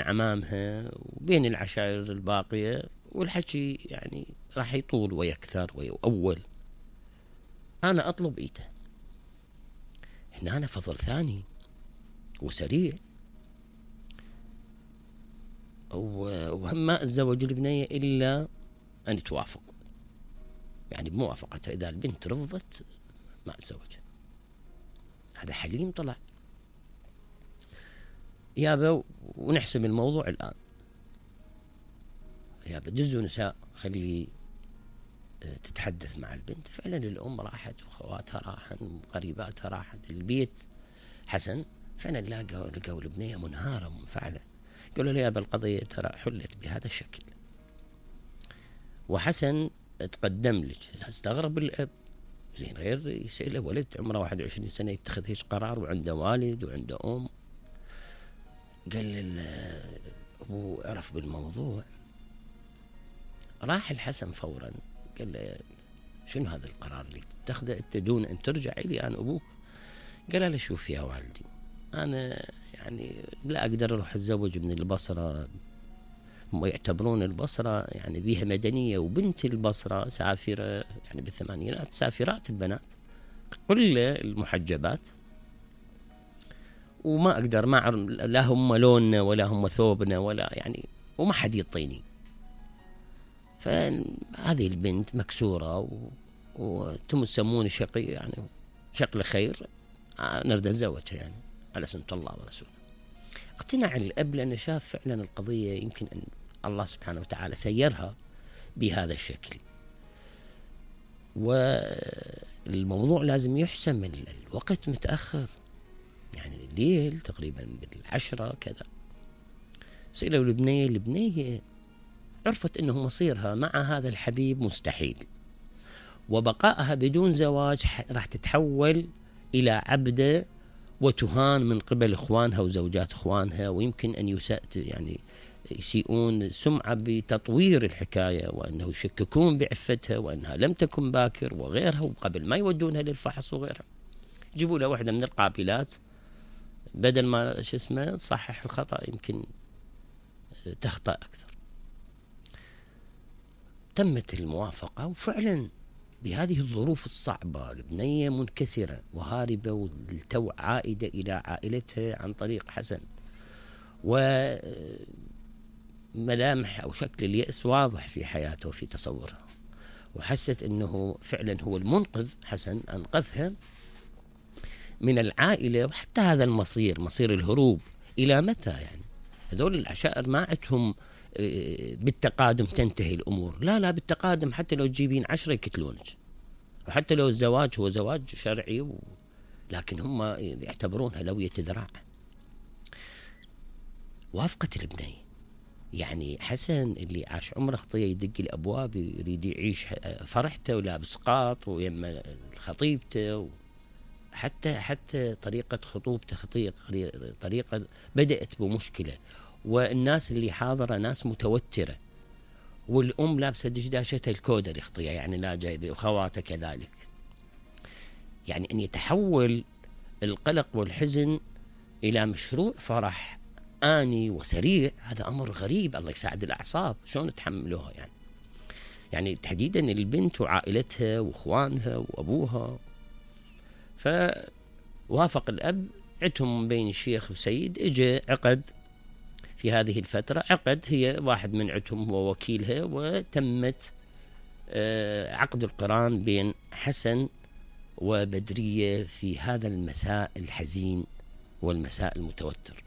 عمامها وبين العشائر الباقية، والحكي يعني راح يطول ويكثر ويؤول. أنا أطلب إيده. هنا أنا فضل ثاني وسريع، وهم ما أتزوج البنية إلا أن توافق، يعني بموافقتها. إذا البنت رفضت ما أتزوجها. هذا حليم طلع يابا. ونحسم الموضوع الآن يابا، جزء نساء خلي تتحدث مع البنت. فعلا الأم راحت وخواتها راحن وقريباتها راحت البيت حسن. فعلا لقوا البنية منهارة ومنفعلة. قالوا لي يابا القضية ترى حلت بهذا الشكل. وحسن تقدم لك. استغرب الأب، زين غير يسأله ولد عمره 21 سنة يتخذ هيك قرار وعنده والد وعنده أم. قال أبو عرف بالموضوع، راح الحسن فورا قال له شنو هذا القرار اللي تتخذه انت دون ان ترجع الي انا ابوك؟ قال له شوف يا والدي، انا يعني لا اقدر اروح اتزوج من البصره، هم يعتبرون البصره يعني بيها مدنيه، وبنت البصره سافره يعني بالثمانينات، سافرات البنات كل المحجبات، وما اقدر ما لا هم لوننا ولا هم ثوبنا ولا يعني، وما حد يعطيني. فهذه البنت مكسورة وتسمون شقي يعني شكل خير، نريد أتزوجها يعني على سنة الله ورسوله. اقتنع الأب لأنه شاف فعلا القضية يمكن أن الله سبحانه وتعالى سيرها بهذا الشكل، والموضوع لازم يحسم. الوقت متأخر يعني الليل تقريبا بال10 كذا. سئلوا البنية عرفت أنه مصيرها مع هذا الحبيب مستحيل، وبقائها بدون زواج راح تتحول إلى عبدة وتهان من قبل إخوانها وزوجات إخوانها، ويمكن أن يسيئون سمعة بتطوير الحكاية، وأنه يشككون بعفتها وأنها لم تكن باكر وغيرها، وقبل ما يودونها للفحص وغيرها يجيبوا لها واحدة من القابلات بدل ما تصحح الخطأ يمكن تخطأ أكثر. تمت الموافقة، وفعلا بهذه الظروف الصعبة البنية منكسرة وهاربة والتو عائدة إلى عائلتها عن طريق حسن، وملامح أو شكل اليأس واضح في حياته وفي تصورها، وحست أنه فعلا هو المنقذ. حسن أنقذها من العائلة، وحتى هذا المصير مصير الهروب إلى متى يعني؟ هذول العشائر ما عندهم بالتقادم تنتهي الأمور، لا بالتقادم، حتى لو تجيبين 10 يقتلونك، وحتى لو الزواج هو زواج شرعي لكن هم يعتبرونها لوية ذراع. وافقت البنية. يعني حسن اللي عاش عمره خطية يدق الأبواب يريد يعيش فرحته ولابس قاط ويما خطيبته، حتى طريقة خطوبته طريقة بدأت بمشكلة، والناس اللي حاضرة ناس متوترة، والأم لابسة دشداشتها الكودر خطية يعني لا جايبة، وخواته كذلك. يعني أن يتحول القلق والحزن إلى مشروع فرح آني وسريع، هذا أمر غريب. الله يساعد الأعصاب شلون تحملوها يعني تحديدا البنت وعائلتها وإخوانها وأبوها. فوافق الأب. عدهم بين الشيخ وسيد، اجى عقد في هذه الفترة، عقد هي واحد من عدهم هو وكيلها، وتمت عقد القران بين حسن وبدرية في هذا المساء الحزين والمساء المتوتر.